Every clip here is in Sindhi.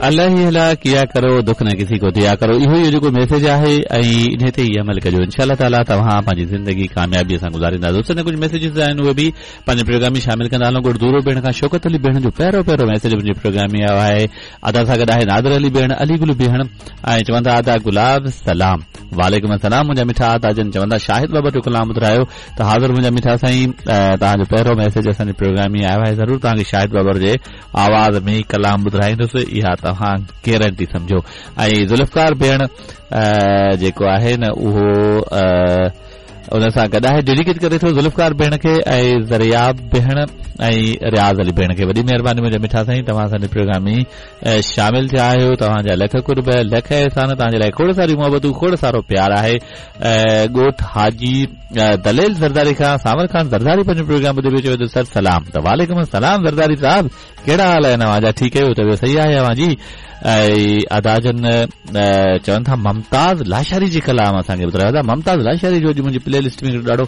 الله هي الله ڪيا ڪرو دک نه ڪسي ڪو ديا ڪرو اهو ئي جيڪو ميسيج آهي ۽ انهي تي ئي عمل ڪجو انشاء الله تعالي توهان پنهنجي زندگي ڪاميابي سان گذاريندا دوستن جا ڪجهه ميسيجز آهن اهي به پنهنجي پروگرام ۾ شامل ڪندا هلون ڳوٺ دورو ڀيڻ کان شوڪت علي ڀيڻ جو پهريون پهريون ميسيج منهنجي پروگرام ۾ آيو آهي ادا سان گڏ آهي نادر علي ڀيڻ علي گل ڀيڻ ۽ چون ٿا ادا گلاب سلام وعليڪم السلام منهنجا مٺا ادا جن چون ٿا شاهد بابر جو ڪلام ٻڌرايو ته حاضر منهنجا مٺا سائين توهان جو پهريون ميسيج اسان جي پروگرام ۾ آيو آهي ضرور توهان کي شاهد بابر جي آواز ۾ ڪلام ٻڌرائيندس اها توهان گيرنٽي سمجهو ۽ ذوالفقار ڀيڻ جيڪو آهي نه اهو ان سان گڏ آهي ڊيڊيڪيٽ ڪري ٿو ذوالفقار ڀيڻ کي ۽ زرياب ڀيڻ ۽ رياض علي ڀيڻ کي وڏي مهرباني منهنجا مٺا سائين توهان اسان جي پروگرام ۾ شامل ٿيا آهيو توهان جا لک قرب لک احسان توهان جي لاء کوڙ ساريون محبتون کوڙ سارو پيار آهي ڳوٺ حاجي دليل زرداري کان سانول خان زرداري پنهنجو پروگرام ٻڌي پيو چوي ٿو سر سلام ته وعليڪم السلام زرداري صاحب ڪهڙا حال آهن اوهان جا ٺيڪ آهيو طبيعت صحيح آهي اوهان جي ۽ ادا جن چون ٿا ممتاز لاشاري جي ڪلام اسان کي ٻڌرايو ادا ممتاز لاشاري جو اڄ منهنجي پلي لسٽ ۾ ڏاڍو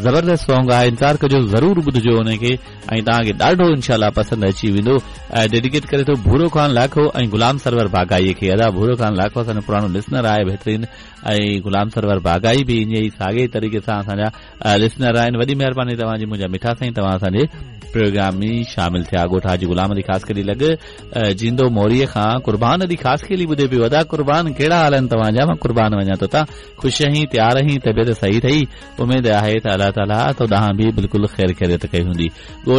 زبردست سونگ آهي انتظار ڪجو ضرور ٻڌجو ان کي ۽ توهان کي ڏاڍو انشاء الله پسند اچي ويندو ۽ ڊيڊيڪيٽ ڪري ٿو ڀورو خان لاکو ۽ غلام سرور باغائي کي ادا ڀورو خان لاکو اسان جو پراڻو لسنر آهي بهترين ۽ غلام سرور باغائي به ائين ئي ساڳئي طريقي سان اسان جا لسنر آهن وڏي مهرباني توهان جي منهنجا مٺا سائين توهان اسان جي پروگرام ۾ شامل ٿيا ڳوٺ حاجي غلام علي خاصخيلي لڳ جيندو موري کان قربان علي خاصخيلي ٻڌي پيو ادا قربان ڪهڙا حال آهن توهان جا مان قربان وڃان تو تان خوش آهين تيار آهين طبيعت صحيح اٿئي اميد آهي ته الله تعالي تو ڏانهن به بلڪل خير خيريت ڪئي هوندي ڳوٺ.